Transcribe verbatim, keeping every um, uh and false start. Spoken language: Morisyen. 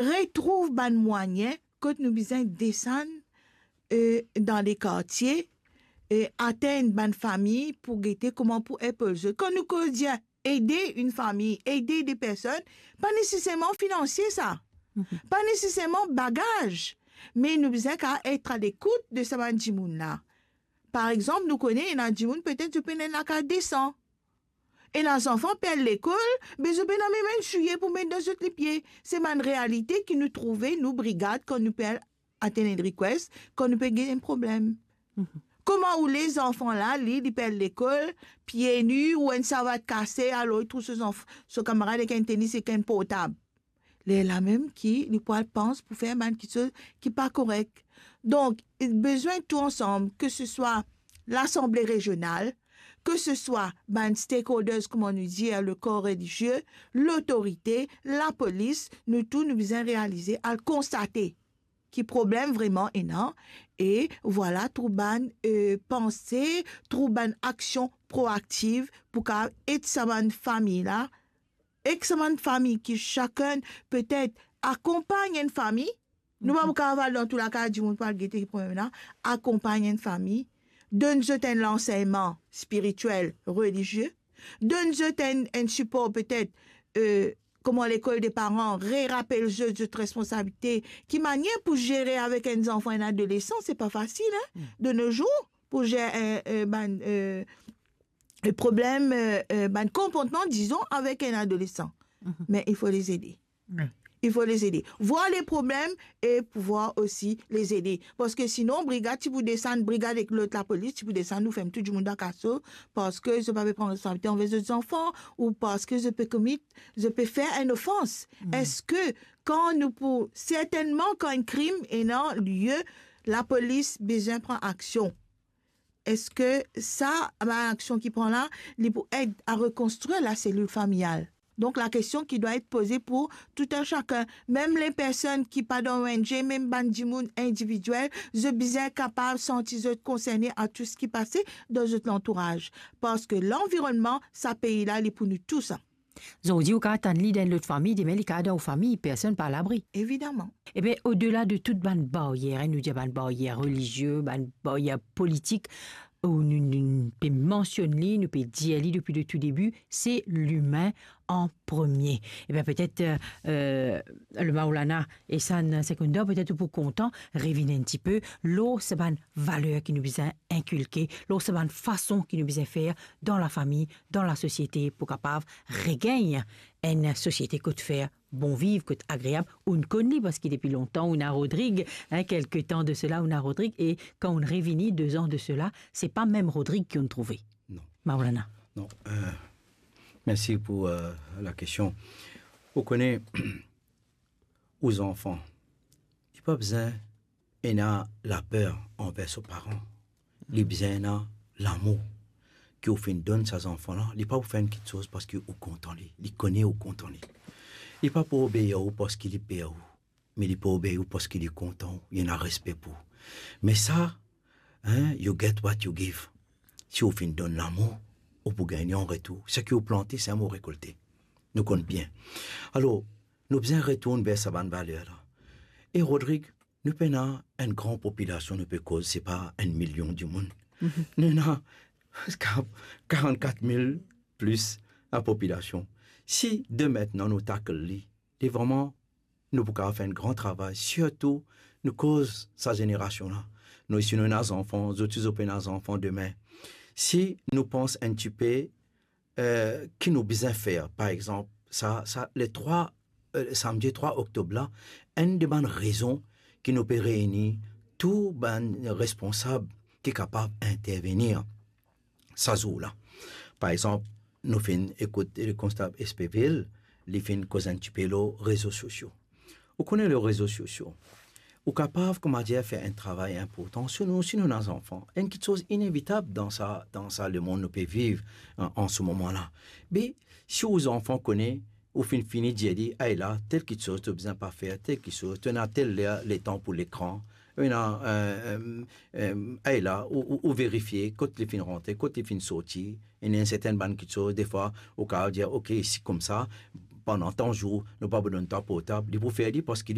retrouv bann mwayin kot nou bizin desann, eh, dan lekartie, eh, atenn bann fami pou gete kouma pou epol zot. Kan nou koz dir ede enn fami, ede de personn, pa neseserman finansie sa, pa neseserman bagaz, me nou bizin kapav et a lekout de sa bann dimoun la. Par exanp, nou kone ena dimoun petet zot pena lakaz desan. Ena zanfan perd lekol, be zot pena mem enn soulie pou met dan zot lipie. Se bann realite ki nou trouve, nou brigad, kan nou pe al atenn enn request, kan nou pe gagn enn problem. Kouma ou les zanfan la, li, li perd lekol, pie ni, ou enn savat kase, alor li trouv so zanf-, so kamarad ek enn tenis ek enn portab. Lerla mem ki li pou al pans pou fer bann kiksoz ki pa korek. Donk, bizin tou ansam, ke se swa Lasanble Rezional, ke se swa bann stakeholders, kouma nou dir, le kor relizie, lotorite, lapolis, nou tou nou bizin realize, al konstate ki problem vreman ena, e vwala, trouv bann, eh, panse, trouv bann aksion proaktiv pou kapav et sa bann fami la, ek sa bann fami ki sakenn petet akonpagn enn fami, nou pa pou kapav al dan tou lakaz dimoun pou al gete ki problem la, akonpagn enn fami, donn zot enn lansegnman spiritiel, relizie, donn zot enn, enn sipor petet, eh, kouma lekol de paran, rerapel zot, zot responsabilite, ki manier pou zere avek enn zanfan, enn adolesan, se pa fasil, hein, de nos jours, pou zere, eh, eh, bann, eh, eh, problem, eh, eh, bann konportman, dizon, avek enn adolesan. Me il faut les aider. Il faut les aider. Voir les problèmes et pouvoir aussi les aider. Parski sinon, brigad ti pou desann, brigad ek lot lapolis ti pou desann, nou ferm tou dimoun dan kaso, parski zot pa pe pran responsabilite anver zot zanfan, ou parski zot pe komit, zot pe fer enn ofans. Eski kan nou pou, sertennman kan enn krim ena lie, lapolis bizin pran aksion. Eski sa, bann aksion ki pran la, li pou ed a rekonstrir laselil familial? Donk, lakestion ki dwa et poze pou tou enn sakenn, mem le personn ki pa dan O N G, mem bann dimoun individiel, zot bizin kapav santi zot konserne a tou seki pase dan zot lantouraz. Parski lanvironnman sa pei la, li pou nou tou sa. Zordi ou kapav tann li dan enn lot fami, demin li kapav dan ou fami, personn pa alabri. Evidaman. Ebe, odela de tout bann baryer, hein, nou dir bann baryer relizie, bann baryer politik, ou nou, nou, nou pe mansionn li, nou pe dir li depi le tou debi, se limin an premie. Ebe, petet, eh, eh, le Maulana Ehsan Sekondar, petet ou pou kontan revinn enn tipe lor sa bann valer ki nou bizin inkilke, lor sa bann fason ki nou bizin fer dan lafami, dan lasosiete pou kapav regagn enn sosiete kot fer bon viv, kot agreab. Ou'nn konn li parski depi lontan ou'nn a Rodrig, hein, kelke tan de sela ou'nn a Rodrig, e kan ou'nn revini de zan de sela, se pa mem Rodrig ki ou'nn trouve. Non. Maulana. Non, eh, mersi pou, eh, lakestion. Ou kone, ou zanfan, li pa bizin ena laper anver so paran. Li bizin ena lamour ki ou finn donn sa zanfan la. Li pa pou fer enn kiksoz parski ou kontan li. Li kone ou kontan li. Li pa pou obeir ou parski li per ou, me li pou obeir ou parski li kontan ou, li ena respe pou ou. Me sa, hein, you get what you give. Si ou finn donn lamour, ou pou gagn an retour. Seki ou plante, seki ou rekolte. Nou konn bien. Alor, nou bizin retourn ver sa bann valer la. E Rodrig, nou pena enn gran popilasion, nou pe koz, se pa enn milion dimoun. Nou ena karannkat mil plis lapopilasion. Si de mintnan nou tackle li, li vreman, nou pou kapav fer enn gran travay, sirtou nou koz sa zenerasion la. Nou, si nou ena zanfan, zot osi zot pou ena zanfan demin. Si nou pans enn tipe, eh, ki nou bizin fer, par exanp, sa, sa, le trwa, eh, samdi trwa oktob la, enn de bann rezon ki nou pe reyni tou bann responsab ki kapav intervenir sa zour la. Par exanp, nou finn ekout le konstab Espevil, li finn koz enn tipe lor rezo sosio. Ou kone lor rezo sosio, ou kapav, kouma dir, fer enn travay inportan. Si nou, si nou ena zanfan, enn kiksoz inevitab dan sa, dan sa lemond nou pe viv an, an se moman la. Be, si ou zanfan kone, ou finn fini dir li, "Ay la, tel kiksoz to bizin pa fer, tel kiksoz, to ena tel ler, letan pou lekran, ou ena, eh, eh, eh, ay la, ou, ou, ou verifie kot li finn rantre, kot li finn sorti." Ena enn sertin bann kiksoz, defwa, ou kapav dir, "Ok, si koumsa, pandan tan zour, nou pa pou donn twa portab." Li pou fer li parski